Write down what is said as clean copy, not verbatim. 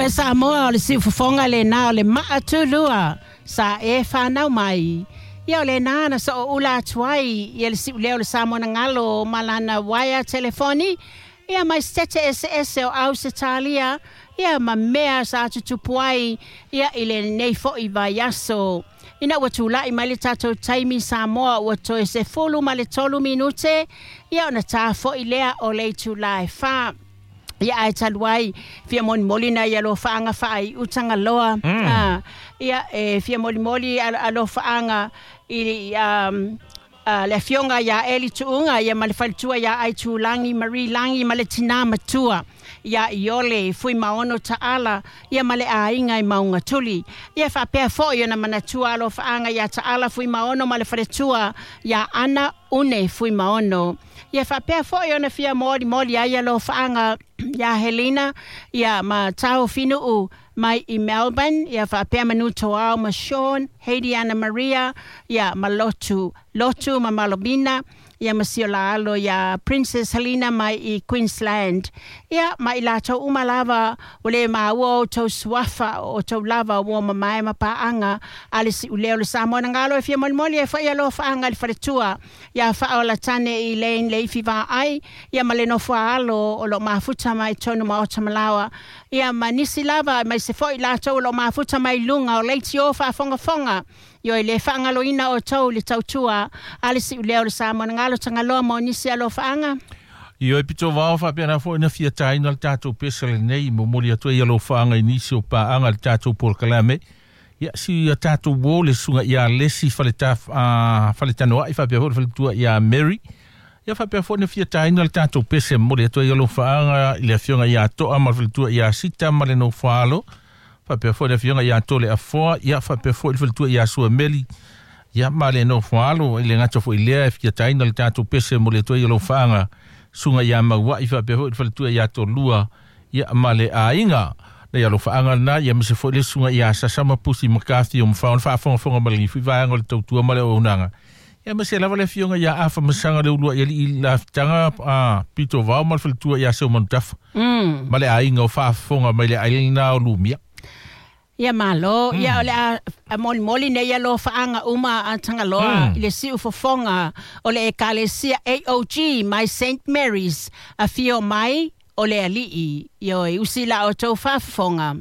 E Samoa o le siufofoga lenā o le maatulua sa e fanau mai. Ia o lenā na sooula atu ai ia le siuleo o le Samoa na galo ma lana uaea telefoni, ia mai Setete eseese o Ausetalia, ia ma mea sa tutupu ai ia i lenei fo'i vaiaso. Ina ua tula'i mai le tatou taimi Samoa ua toe 13 minute, ia ona ta fo'i lea o le itulā e 4. Ia ae talu ai, fia molimoli nai alofaaga faaiu Tagaloa. Ia e fia molimoli alofaaga i le afioga iā Eli Tuuga ia ma le faletua iā Aitulagi Marie Lagi ma le tinā matua iā Iole Fuimaono Taala ia ma le aiga i Maugatuli. Ia faapea foi ona manatua alofaaga iā Taala Fuimaono ma le faletua iā Ana Une Fuimaono. Ia faapea foi ona fia molimoli ai alofaaga iā Helena ia ma Tao Finuu mai i Melbourne, ia faapea Manu Toao ma Sean, Heidi Anna Maria ia ma Lotu, Lotu ma Malomina ia ma si o la alo iā Princess Helena mai i Queensland. Ia ma i latou uma lava ua le maua outou suafa o outou lava uo mamae ma paaga a le siuleo o le Samoa na galo e fia molimoli ai foi alofaaga i le faletua iā Faaolatane i Lane Leifi Vaai ia ma le nofo a alo o loo mafuta mai tonu maota malaoa ia ma nisi lava mai se foi latou o loo mafuta mai luga o leitio faafogafoga. Ioe, le faagaloina outou i le tautua a le siuleo o le Samoa na galo. Tagaloa, mo nisi alofaaga. Ioe pito vao faapena foi na fia tāina le tatou pese lenei momoli atu ai alofaaga i nisi o paaga le tatou polokalame. Ia si a tatou uō le susuga iā Lesi Faleta Faletanoa'i faapea foi le faletua iā Mary. Ia faapea foi na fia tāina le tatou pese momoli atu ai alofaaga i le afioga iā To'a ma le faletua iā Sita ma le nofoalo. Faapea foi le afioga iā Tole Afoa, ia faapea foi le faletua iā Suameli ia ma le nofoalo. I le gata foi lea e fia tāina le tatou pese momoli atu ai alofaaga susuga iā Maua'i faapea foi le faletua iā Tolua ia ma le aiga. Na ia alofaaga lena ia mise foi le susuga iā Sasama Pusi McCarthy o mafao ona faafogafoga ma le gifu i vaega o le tautua ma le auaunaga. Ia ma se lava le afioga iā Afa Masaga le ulua'i alii lafitaga a pito vao ma le faletua iā Seu Manutafa ma le aiga o faafofoga mai le ailana lena o Lumia. Ia malo, ia o le a molimoli nei alofaaga uma a Tagaloa i le siufofoga o le Ekalesia AOG mai St Mary's, afio mai o le Alii. Ioe, usi la outou faafofoga.